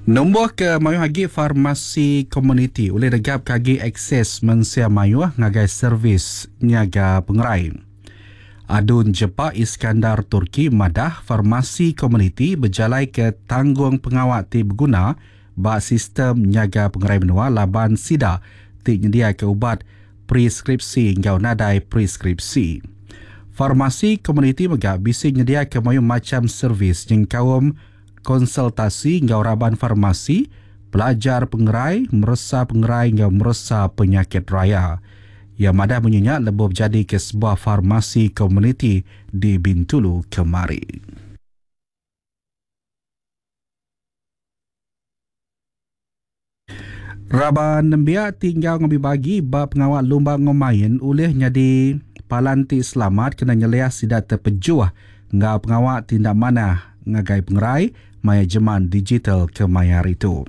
Numbuhka mayuh agi farmasi komuniti ulih negapka agi akses mensia mayuh ngagai servis nyaga pengerai. Adun Jepak Iskandar Turki madah farmasi komuniti bejalaika tanggungpengawa ti beguna ba sistem nyaga pengerai menua laban sida ti nyediaka ubat preskripsi enggau nadai preskripsi. Farmasi komuniti mega bisi nyediaka mayuh macham servis nyengkaum konsultasi enggau raban farmasi, pelajar pengerai, meresa pengerai enggau meresa penyakit raya. Iya madah munyi nya lebuh bejadika sebuah farmasi komuniti di Bintulu kemari. Raban nembiak ti enggau ngambi bagi ba pengawa lumba enggau main ulih nyadi palan ti selamat kena nyeliah sida tepejuh enggau pengawa ti enda manah ngagai pengerai maya jeman digital kemaya hari tu.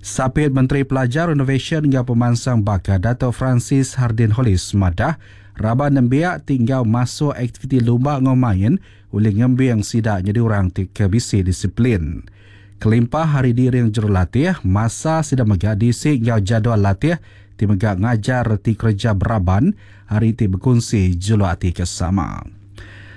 Sapit Menteri Pelajar, Inovasyen enggau Pemansang Baka Dato Francis Hardin Hollis madah, raban nembiak ti enggau masuk aktiviti lumba enggau main ulih ngembing sida nyadi orang ti ke bisi disiplin. Kelimpah ari diiring jurulatih, masa sida mega diisi enggau jadual latih ti mega ngajar reti kereja beraban ari ti bekunsi juluk ati ke sama.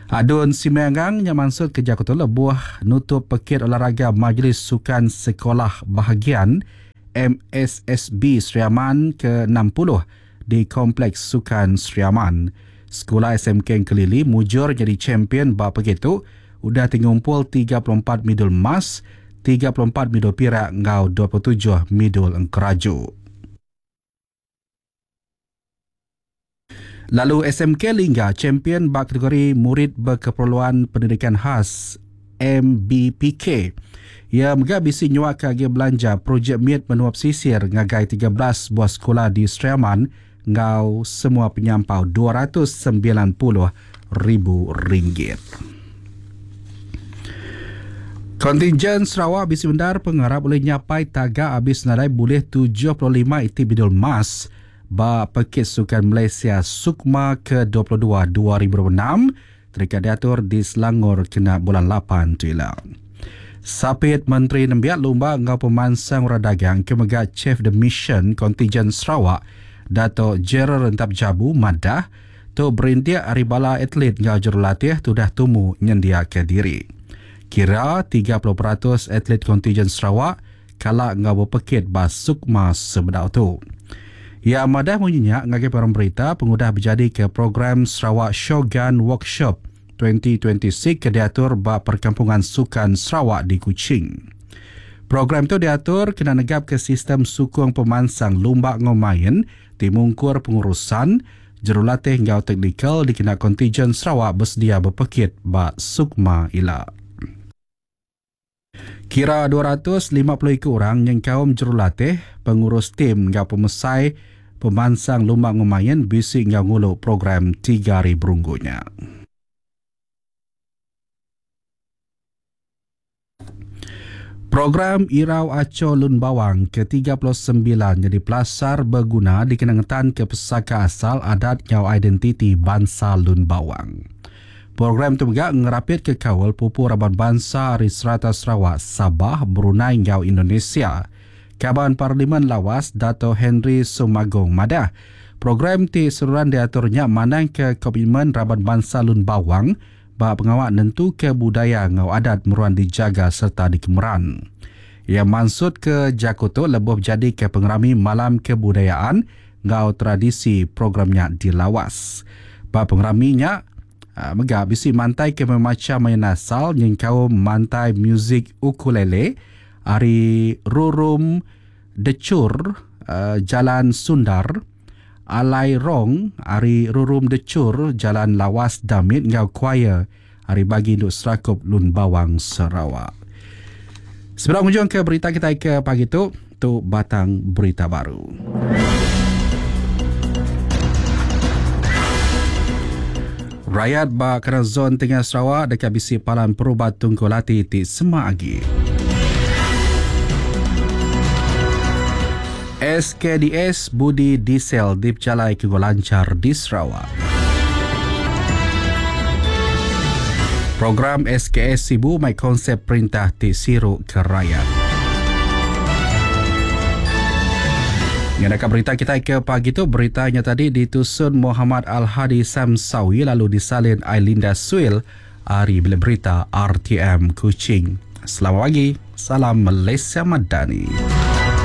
Adun Simanggang nya mansutka jaku tu lebuh nutup Pekit Olahraga Majlis Sukan Sekolah Bahagian, MSSB, Sri Aman ke 60 di Kompleks Sukan Sri Aman. Sekula SMK Engkelili mujur nyadi champion ba pekit tu udah ti ngumpul 34 midul emas, 34 midul pirak enggau 27 midul engkeraju. Lalu SMK Lingga champion ba kategori Murid Berkeperluan Pendidikan Khas, MBPK. Iya mega bisi nyuaka agi belanja projek mit menua pesisir ngagai 13 buah sekula di Sri Aman enggau semua penyampau 290 ribu ringgit. Kontingen Sarawak bisi bendar pengarap ulih nyapai taga abis nadai bulih 75 iti bidul emas ba Pekit Sukan Malaysia Sukma ke 22 2026 Deka diatur di Selangor kena bulan lapan tu ila. Sapit Menteri Nembiak Lumba enggau Pemansang Orang Dagang ke mega Chief de Mission Kontijen Sarawak, Dato Gerald Rentap Jabu madah, tu berindik ari bala atlet enggau jurulatih tudah tumu nyendiaka diri. Kira 30% atlet kontijen Sarawak kala enggau bepekit ba Sukma sebedau tu. Iya madah munyi nya ngagai pengarang berita pengudah bejadika program Sarawak Shogun Workshop 2026 ke diatur ba Perkampungan Sukan Sarawak di Kuching. Program tu diatur kena negapka sistem sukung pemansang lumba enggau main ti mungkur pengurusan, jurulatih enggau teknikal dikena kontijen Sarawak besedia bepekit ba Sukma ila. Kira 250 iku orang nyengkaum jurulatih, pengurus tim enggau pemesai pemansang lumba enggau main bisi enggau ngulu program tiga hari berunggu nya. Program Irau Aco Lun Bawang ke 39 nyadi pelasar beguna dikena ngetanka pesaka asal adat enggau identiti bansa Lun Bawang. Program tu mega ngerapitka kaul pupu raban bansa ari serata Sarawak, Sabah, Brunei enggau Indonesia. Kaban Parlimen Lawas Dato Henry Sumagong madah, program ti seruran diatur nya mandangka komitmen raban bansa Lun Bawang ba pengawa nentuka budaya enggau adat meruan dijaga sereta dikemeran. Iya mansutka jaku tu lebuh bejadika pengerami Malam Kebudayaan enggau tradisi program nya di Lawas. Ba pengerami nya mega bisi mantaika bemacham main asal nyengkaum mantai muzik ukulele ari Rurum Decur Jalan Sundar, Alai Rong ari Rurum Decur Jalan Lawas Damit enggau choir ari Bagi Indu Serakup Lun Bawang Sarawak. Sebedau ngujungka berita kitai ke pagi tu, tu batang berita baru. Rayat ba kandang zon tengah Sarawak deka bisi palan perubat tungkul ati ti semak agi. SKDS Budi Diesel dipejalai ke lanchar di Sarawak. Program SKS Sibu mai konsep perintah ti siru ke rayat. Ngenaka berita kita ke pagi tu, beritanya tadi ditusun Muhammad Al-Hadi Samsawi lalu disalin Ailinda Suil ari Bilik Berita RTM Kuching. Selamat pagi, salam Malaysia Madani.